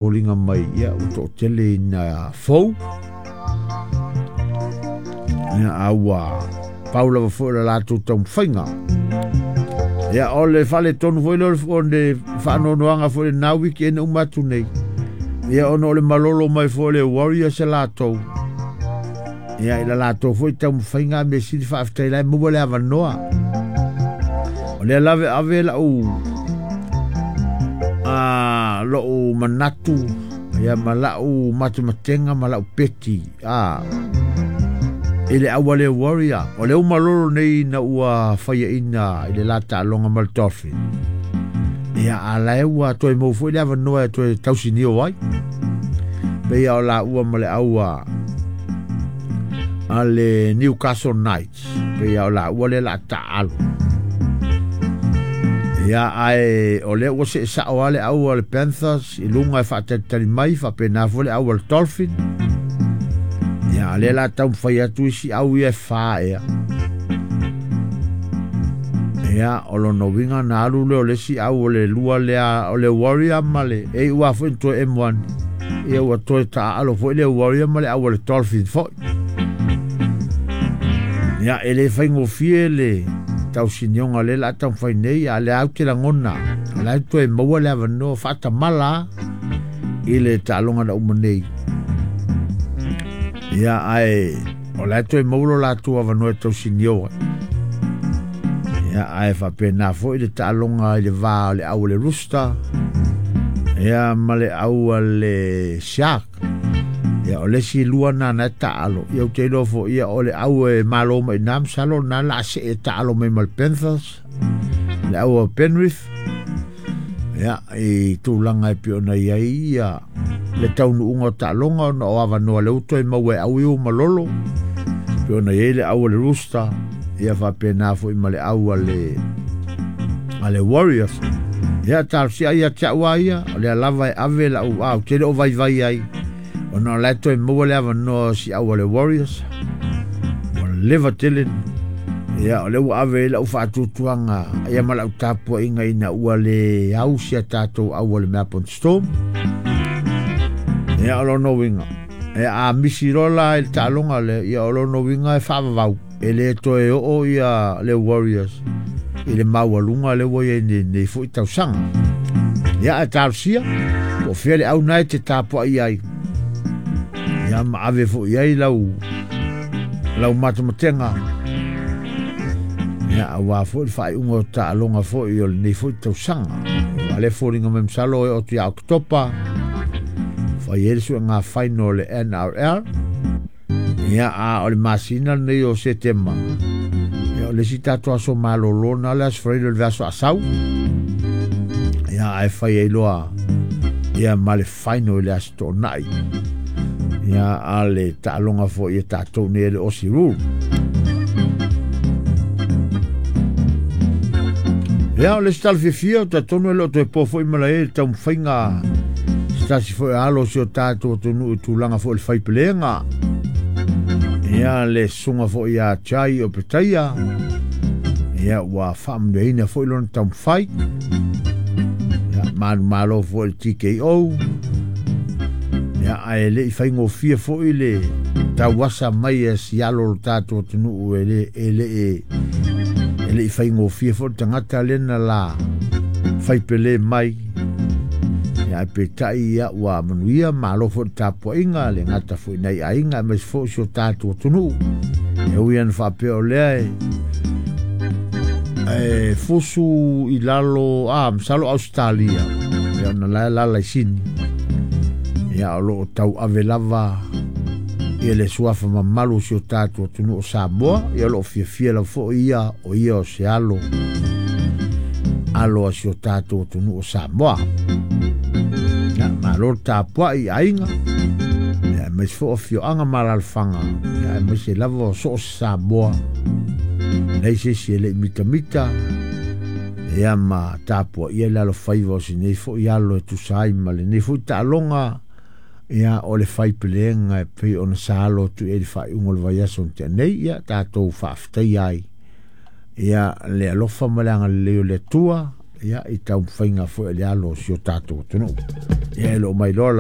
Foliga mai ia ua toatele ina fou. Ia a ua pau lava foi o le latou taumafaiga. Ia o le faaletonu foi lea o le faanoanoaga foi i lena weekend uma atu nei. Ia ona o le malolo mai foi o le Warriors e latou. Ia i la latou foi taumafaiga mea sili faafetai la e maua le avanoa. O lea lava e ave lau lou manatu ia ma lau matematega ma lau peti i le au a le Warrior. O le uma lolo nei na ua faiaina i le la taaloga ma le Dolphin. Ia a la e ua toe mau foi le avanoa e toe tausinio ai. Pei o la ua ma le au a le Newcastle Knights. Pei o la ua le la taalo. Ia ae o lea ua see sao lava le au a le Panthers i luga e faatalitali mai faapena foi le au a le Dolphin. Ia a lea la taumafai atu isi au ia e fa ea. Ia o lona uiga na alu lea o le isi au o le lua lea o le Warrior ma le e iu lava foi na toe M1. Ia ua toe taaalo foi le Warrior ma le au a le Dolphin foi. Ia e le faigofie le tausinioga lea o le a taumafai nei, a o lea ou te lagona o la e toe maua le avanoa faatamala i le taaloga na uma nei. Ia ae o la e toe maua lo latou avanoa e tausinio ai. Ia ae faapena foi le taaloga i le va o le au a le Rooster ia ma le au a le Shark. Ia o le isi lua na na e taalo. Ia ou te iloa foi ia o le au e malo mai na masalo na la se e taalo mai ma le Panthers. Le au a Penrith. Ia i tulaga e pei ona i ai ia le taunuuga o taaloga ona o avanoa le uto e maua e au i o malolo. Pei ona i ai le au a le Rooster. Ia faapena foi ma le au a le Warriors. Ia talosia ia te au a ia, o lea lava e ave lau au te le o vaivai ai. Ona o la e toe maua le avanoa si au a le Warriors. Ua leva tele. Ia o lea ua ave ai lau faatuatuaga ia ma lau tapuaiga ina ua le au si a tatou au a le Melbourne Storm. Ia o lona uiga e a misi loa la i le taaloga lea, ia o lona uiga e faavavau. E le toe oo ia le Warriors i le maualuga lea ua i ai nei foi tausaga. Ia ae talosia, po o fea le au na e te tapuai ai. Ia ma ave foi i ai lau matematega. Ia aua foi le faaiuga o taaloga foi o lenei foi tausaga. Ua le foliga mai masalo e o tu ia Oketopa. Fai ai le suega final o le NRL. Ia a o le masina lenei o Setema. Ia o le isi tatou aso malolo na le aso Faraile o le vaiaso asau. Ia ae fai ai loa ia ma le final i le aso Toonai. Ia a le taaloga foi ia tatou nei le Aussie Rule. Ia o le isi tala fiafia o talitonu e le o toe po foi ma la e le taumafaiga se tasi foi alo o si o tatou atunuu i tulaga foi o le faipelega. Ia le susuga foi ia Jai o Petaia. Ia ua faamanuiaina foi lona taumafai. Ia manumalo foi le TKO. Ia ae le i faigofie foi le tauasa mai e si alo o le tatou atunuu e le i faigofie foi le tagata lena la faipele mai. Ia ae peitai ia ua manuia malo foi le tapuaiga le gata foi nai aiga aemaise foi si o tatou atunuu. E ui ana faapea o lea e fusu i lalo masalo Australia. Ia ona la lala i Sini. Ia o loo tau ave lava ia le suafa mamalu o si o tatou atunuu o Samoa. Ia o loo fiafia lava foi ia o ia o se alo a si o tatou atunuu o Samoa. Ia malo le tapuai i aiga. Ia aemaise foi o afioaga ma alaalafaga. Ia aemaise lava o so o se Samoa. Nei se isi e le i mitamita. Ia ma tapuaia le alofaiva o si nei foi alo e tusa ai ma lenei foi taaloga. Ia o le faipelega e pei ona sa alo atu i ai le faaiuga o le vaiaso na tea nei. Ia tatou faafetai ai ia le alofa ma le agalelei o le Atua. Ia, i taumafaiga foi a le alo o si o tatou atunuu. Ia, e le o mailoa.